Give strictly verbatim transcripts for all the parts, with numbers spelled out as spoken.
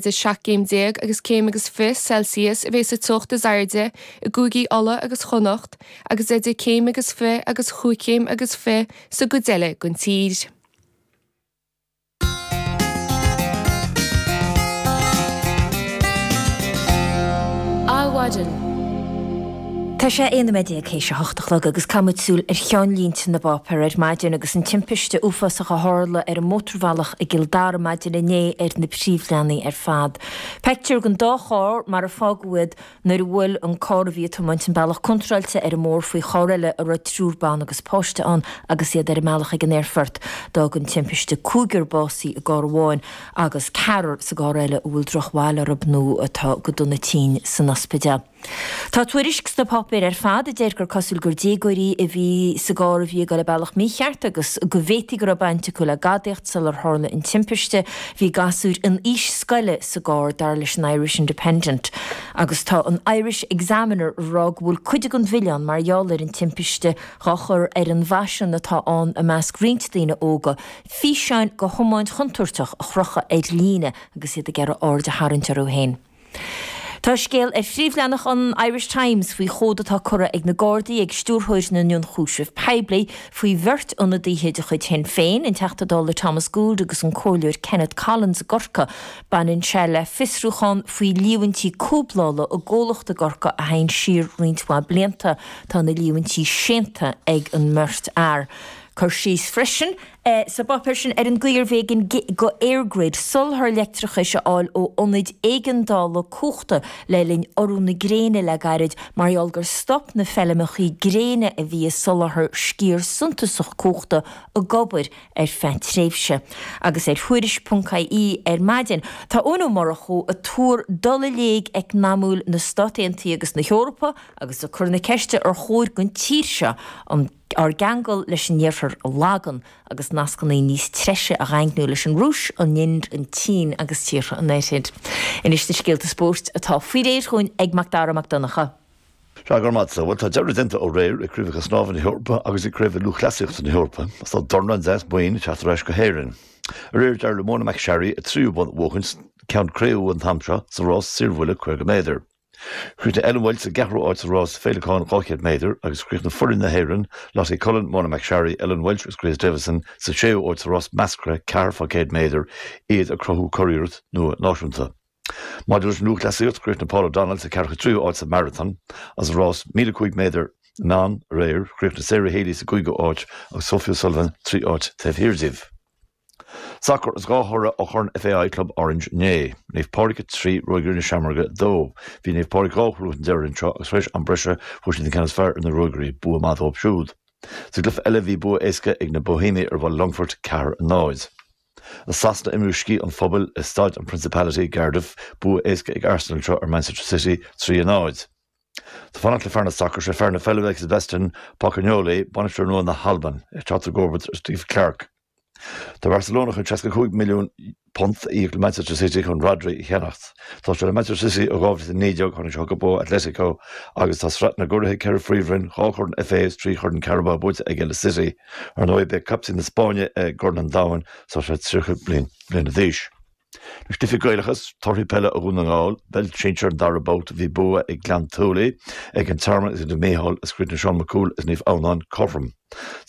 Idir seacht gcéim déag agus céim agus fiche Celsius a bheidh sa teocht is airde i gcúigí Uladh agus Chonnacht agus idir céim agus fiche agus chúig chéim agus fiche sa gcuid eile den tír. Adhmhaidin. Tá sé aon nóiméad déag théis a hocht a chlog agus caithfimid súil ar cheannlínte na bpáipéar ar maidin agus an timpiste uafásach a tharla ar an mótarbhealach i gCill Dara maidin inné ar na príomhleathanaigh ar fad. Pictiúr den dá charr mar a fágadh iad nuair a bhuail an carr a bhí ag tiomáint an bealach contráilte ar an mbóthar faoi charr eile a raibh triúr ban agus páiste ann agus iad ar a mbealach ag an aerfort. D'fhág an timpiste cúigear básaithe i gcarr amháin agus ceathrar sa gcarr eile a bhfuil drochbhail orthu nó atá go dona tinn san ospidéal. Tá tuairisc sna páipéir ar fad a deir gur cosúil gur déagóirí a bhí sa gcarr a bhí ag dul an bealach mícheart agus go bhféadfaí go raibh baint acu le gadaíocht sular tharla an timpiste. Bhí gasúir in aois scoile sa gcarr, dar leis an Irish Independent. Agus tá an Irish Examiner ag rá go bhfuil cuid den mhilleán mar gheall ar an timpiste dhá chur ar an bhfaisean atá ann i measc roinnt daoine óga físeáin de thiomáint chontúirteach a chrochadh ar líne agus iad ag iarraidh aird a tharraingt orthu féin. Tá scéal ar phríomhleathanach an Irish Times faoi chomhad atá curtha ag na Gardaí ag Stiúrthóir na nIonchúiseamh Poiblí faoi bheirt ionadaithe de chuid Shinn Féin, an Teachta Dála Thomas Gould agus an Comhairleoir Kenneth Collins i gCorcaigh. Baineann sé le fiosrúchán faoi líomhaintí cúblála i gcomhlacht i gCorcaigh a théann siar roinnt mhaith blianta. Tá na líomhaintí séanta ag an mbeirt fhear. Cur síos freisin sa bpáipéar sin ar an gcaoi arbh éigean do EirGrid soláthar leictreachais a fháil ó ionaid éigeandála cumhachta le linn urú na gréine le gairid mar gheall gur stop na feilmeacha gréine a bhí ag soláthar sciar suntasach cumhachta ag obair ar feadh tréimhse. Agus ar Thuairisc ponc ie ar maidin, tá Eoin Ó Murchú ag tuar dul i léig eacnamúil na Stát Aontaithe agus na hEorpa agus ag cur na ceiste ar chóir don tír seo an ár gceangal leis an Iarthar a lagú agus nascanna níos treise a dhaingniú leis an Rúis, an Ind, an tSín agus tíortha an Oirthir. Anois na scéalta spóirt atá faoi réir chugainn ag Macdara Mac Donncha. Sea, go raibh maith agat. Bhuel, tá deireadh déanta ó aréir ag Craobhacha Snámha na hEorpa agus ag Craobh Lúthchleasaíochta na hEorpa agus tá dornán deas boinn ag teacht ar ais go hÉirinn. Aréir d'éirigh le Mona McSharry a tríú bonn a bhuachaint, ceann cré-umha an t-am seo, sa rás saorbhuille caoga méadar. Chríochnaigh Ellen Walshe sa gceathrú áit sa rás féileacáin dhá chéad méadar agus chríochnaigh foireann na hÉireann, Lottie Cullen, Mona McSharry, Ellen Walshe agus Grace Davison, sa séú áit sa rás measctha ceathair fá céad méadar, iad ag cruthú curiarracht nua náisiúnta. Maidir leis an lúthchleasaíocht, chríochnaigh Paul O'Donnell sa ceathracha tríú áit sa marathon agus sa rás míle cúig méadar na mban aréir, chríochnaigh Sarah Healy sa gcúigiú áit agus Sophie O'Sullivan trí áit taobh thiar díobh. Sacar is dhá thoradh ó Chorn FAI Club Orange inné. Naomh Pádraig a trí, Ruagairí na Seamróige a dó. Bhí Naomh Pádraig dhá chúl chun deiridh anseo agus tar éis am breise fuair siad an ceann is fearr ar na Ruagairí, bua maith dóibh siúd. Sa gcluiche eile bhí bua éasca ag na Boihéamaigh ar Bhaile Longfoirt, ceathair a náid. I Sasana imríodh Sciath an Phobail i Staid an Principality i gCardiff, bua éasca ag Arsenal anseo ar Manchester City, trí a náid. Ag fanacht le fear na sacar, sé fear na peile ag Sebastian Pocognoli, bainisteoir nua na hAlban, ag teacht i gcomharbacht ar Steve Clarke. Tá Barcelona chun seasca cúig milliún punt a íoc le Manchester City chun Rodri a cheannacht. Tá sé le Manchester City ó dhá mhíle is a naoi déag, tháinig sé chucu ó Atletico agus tá sraith na gcuraithe, ceithre phríomhroinn, dhá chorn FA is trí chorn Carabao buaite aige le City. Ar ndóigh, beidh captaen na Spáinne i gCorn an Domhain is tá sé tríocha bliana d'aois. Anois cluichí Gaelacha, torthaí peile ó Dhún na nGall, i bpeil sinsir an dara babhta bhí bua ag Gleann tSúilí ag an Tearmann agus Naomh Mícheál is chríochnaigh Seán Mac Cumhaill is Naomh Adhamhnáin cothrom.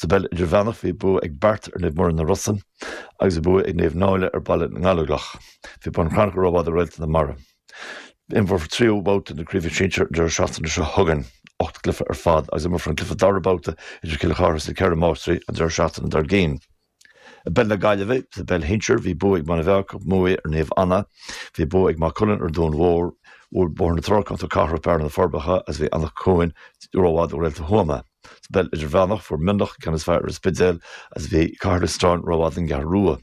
Sa bpeil idirmheánach bhí bua ag Beart ar Naomh Muire na Rosann agus bhí bua ag Naomh Náille ar Baile na nGallóglach. Bhí Bun Cranncha rófhada do Réalta na Mara. Imreofar tríú babhta na craoibhe sinsir an deireadh seachtaine seo chugainn, ocht gcluiche ar fad, agus imreofar an cluiche dara babhta idir Cill Chartha is na Ceithre Máistrí an deireadh seachtaine dár gcionn. I bpeil na Gaillimhe, sa bpeil shinsir, bhí bua ag Muine Mheá Muaidhe ar Naomh Anna, bhí bua ag Maigh Cuilinn ar Dún Mhór, bhuail Bóthar na Trá Ceantar Cathrach Bearna na Forbacha agus bhí Anach Cuain rófhada ó Réalta Thuama. Sa bpeil idirmheánach, fuair Mionlach an ceann is fearr ar an Spidéal agus bhí Cathair Loistreáin rófhada don gCeathrú Rua.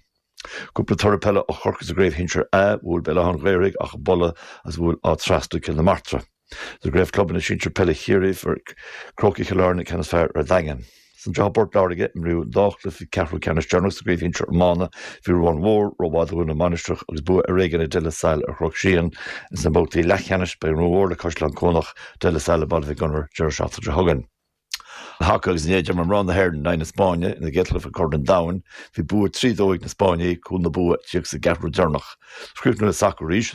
Cúpla toradh peile ó Chorcaigh sa gcraobh shinsir A, bhuail Béal Átha an Ghaorthaidh Achadh Buile agus bhuail Áth Trasna Cill na Martra. Sa gcraobh clubanna sinsir peile Chiarraí, fuair Crócaigh Chill Airne an ceann is fearr ar an Daingean. Is anseo i bPort Láirge, imríodh an dá chluiche ceathrú ceannais deireanach sa gcraobh shinsir iomána. Bhí Ruán Mhór rófhada do Dhún na Mainistreach agus bua ar éigean ag De La Salle ar Chnoc Síon. Ins na babhtaí leathcheannais, beidh an Rinn Mhór le Caisleán Cuanach, De La Salle le Baile Mhic Gonair deireadh seachtaine seo chugainn. Haca agus inné d'imir mná na hÉireann in aghaidh na Spáinne ina gcéad chluiche Corn an Domhain. Bhí bua trí dó ag na Spáinnigh, cúl na bua ag tíocht sa gceathrú deireanach. Críochnú le sacar arís.